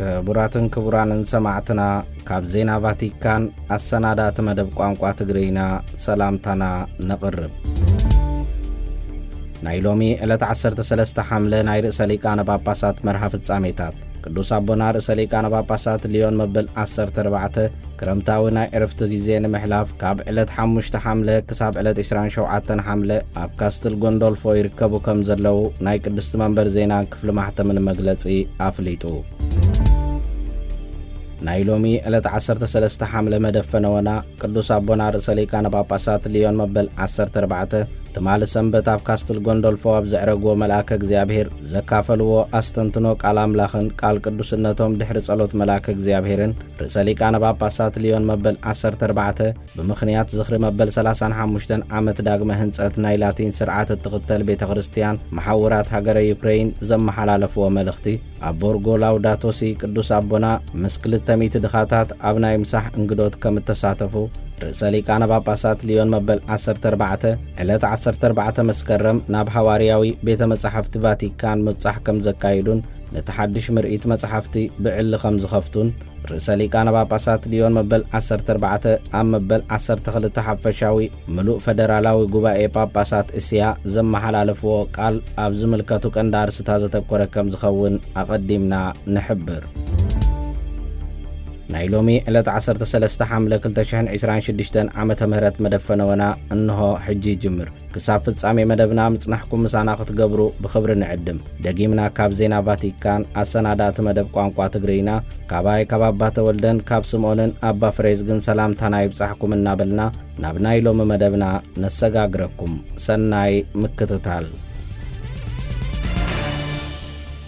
ክቡራትን ክቡራንን ሰማዕትና፣ ካብ ዜና ቫቲካን ኣሰናዳእቲ መደብ ቋንቋ ትግርይና ሰላምታና ነቕርብ። ናይ ሎሚ ዕለት ዓሰርተ ሰለስተ ሓምለ ናይ ርእሰ ሊቃነ ጳጳሳት መርሃ ፍጻሜታት። ቅዱስ ኣቦና ርእሰ ሊቃነ ጳጳሳት ሊዮን መበል ዓሰርተ ኣርባዕተ ክረምታዊ ናይ ዕርፍቲ ግዜ ንምሕላፍ ካብ ዕለት ሓሙሽተ ሓምለ ክሳብ ዕለት ዕስራን ሸውዓተን ሓምለ ኣብ ካስትል ጎንዶልፎ ይርከቡ ከም ዘለዉ ናይ ቅድስቲ መንበር ዜናን ክፍሊ ማሕተምን መግለጺ ኣፍሊጡ። ናይ ሎሚ ዕለት ዓሰርተ ሰለስተ ሓምለ መደብ ፈነወና ቅዱስ ኣቦና ርእሰ ሊቃነ ጳጳሳት ሊዮን መበል ዓሰርተ ኣርባዕተ ትማሊ ሰንበት ኣብ ካስትል ጎንዶልፎ ኣብ ዘዕረግዎ መልኣከ እግዚኣብሔር ዘካፈልዎ ኣስተንትኖ ቃል ኣምላኽን ቃል ቅዱስነቶም ድሕሪ ጸሎት መልኣከ እግዚኣብሔርን ርእሰ ሊቃነ ጳጳሳት ሊዮን መበል ዓሰርተ ኣርባዕተ ብምኽንያት ዝኽሪ መበል ሰላሳን ሓሙሽተን ዓመት ዳግመ ህንጸት ናይ ላቲን ስርዓት እትኽተል ቤተ ክርስቲያን መሓውራት ሃገረ ዩክረይን ዘመሓላለፍዎ መልእኽቲ፣ ኣብ ቦርጎ ላውዳቶ ሲ ቅዱስ ኣቦና ምስ ክልተ ሚእቲ ድኻታት ኣብ ናይ ምሳሕ እንግዶት ከም እተሳተፉ፣ ርእሰ ሊቃነ ጳጳሳት ሊዮን መበል ዓሰርተ ኣርባዕተ ዕለት ዓሰርተ ኣርባዕተ መስከረም ናብ ሃዋርያዊ ቤተ መጻሕፍቲ ቫቲካን ምብጻሕ ከም ዘካይዱን ነቲ ሓድሽ ምርኢት መጻሕፍቲ ብዕሊ ከም ዝኸፍቱን፣ ርእሰ ሊቃነ ጳጳሳት ሊዮን መበል ዓሰርተ ኣርባዕተ ኣብ መበል ዓሰርተ ክልተ ሓፈሻዊ ምሉእ ፈደራላዊ ጉባኤ ጳጳሳት እስያ ዘመሓላለፍዎ ቃል ኣብ ዝምልከቱ ቀንዲ ኣርስታ ዘተኮረ ከም ዝኸውን ኣቐዲምና ንሕብር። ናይ ሎሚ ዕለት ዓሰርተ ሰለስተ ሓምለ ክልተ ሽሕን ዕስራን ሽዱሽተን ዓመተ ምህረት መደብ ፈነወና እንሆ ሕጂ ይጅምር። ክሳብ ፍጻሜ መደብና ምጽናሕኩም ምሳና ክትገብሩ ብኽብሪ ንዕድም። ደጊምና ካብ ዜና ቫቲካን ኣሰናዳእቲ መደብ ቋንቋ ትግርይና፣ ካባይ ካብ ኣባ ተወልደን ካብ ስምኦንን ኣባ ፍሬዝግን ሰላምታና ይብጻሕኩም እናበልና፣ ናብ ናይ ሎሚ መደብና ነሰጋግረኩም። ሰናይ ምክትታል።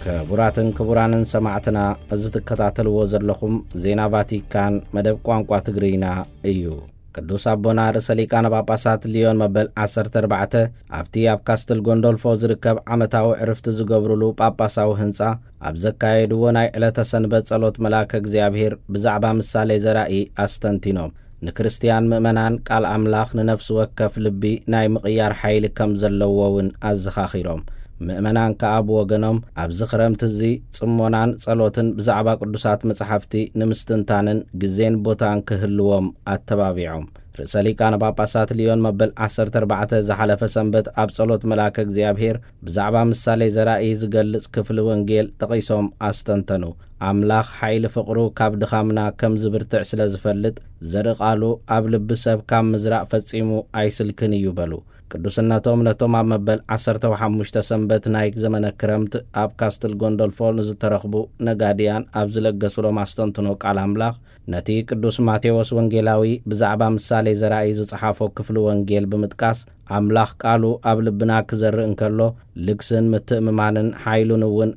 ክቡራትን ክቡራንን ሰማዕትና፣ እዚ ትከታተልዎ ዘለኹም ዜና ቫቲካን መደብ ቋንቋ ትግርይና እዩ። ቅዱስ ኣቦና ርእሰ ሊቃነ ጳጳሳት ሊዮን መበል ዓሰርተ ኣርባዕተ ኣብቲ ኣብ ካስትል ጎንዶልፎ ዝርከብ ዓመታዊ ዕርፍቲ ዝገብሩሉ ጳጳሳዊ ህንጻ ኣብ ዘካየድዎ ናይ ዕለተ ሰንበት ጸሎት መልኣከ እግዚኣብሔር ብዛዕባ ምሳሌ ዘራኢ ኣስተንቲኖም። ንክርስትያን ምእመናን ቃል ኣምላኽ ንነፍሲ ወከፍ ልቢ ናይ ምቕያር ሓይሊ ከም ዘለዎ እውን ኣዘኻኺሮም። ምእመናን ከኣ ብወገኖም ኣብዚ ክረምቲ እዚ ጽሞናን ጸሎትን ብዛዕባ ቅዱሳት መጻሕፍቲ ንምስትንታንን ግዜን ቦታን ክህልዎም ኣተባቢዖም። ርእሰ ሊቃነ ጳጳሳት ሊዮን መበል ዓሰርተ ኣርባዕተ ዝሓለፈ ሰንበት ኣብ ጸሎት መልኣከ እግዚኣብሔር ብዛዕባ ምሳሌ ዘራኢ ዝገልጽ ክፍሊ ወንጌል ጠቒሶም ኣስተንተኑ። ኣምላኽ ሓይሊ ፍቕሩ ካብ ድኻምና ከም ዝብርትዕ ስለ ዝፈልጥ፣ ዘርኢ ቃሉ ኣብ ልቢ ሰብ ካብ ምዝራእ ፈጺሙ ኣይስልክን እዩ በሉ። ቅዱስነቶም ነቶም ኣብ መበል ዓሰርተ ሓሙሽተ ሰንበት ናይ ዘመነ ክረምት ኣብ ካስትል ጎንዶልፎ ንዝተረኽቡ ነጋድያን ኣብ ዝለገሱሎም ኣስተንትኖ ቃል ኣምላኽ፣ ነቲ ቅዱስ ማቴዎስ ወንጌላዊ ብዛዕባ ምሳሌ ዘራኢ ዝጸሓፎ ክፍሊ ወንጌል ብምጥቃስ፣ ኣምላኽ ቃሉ ኣብ ልብና ክዘርእ እንከሎ፣ ልግስን ምትእምማንን ሓይሉን እውን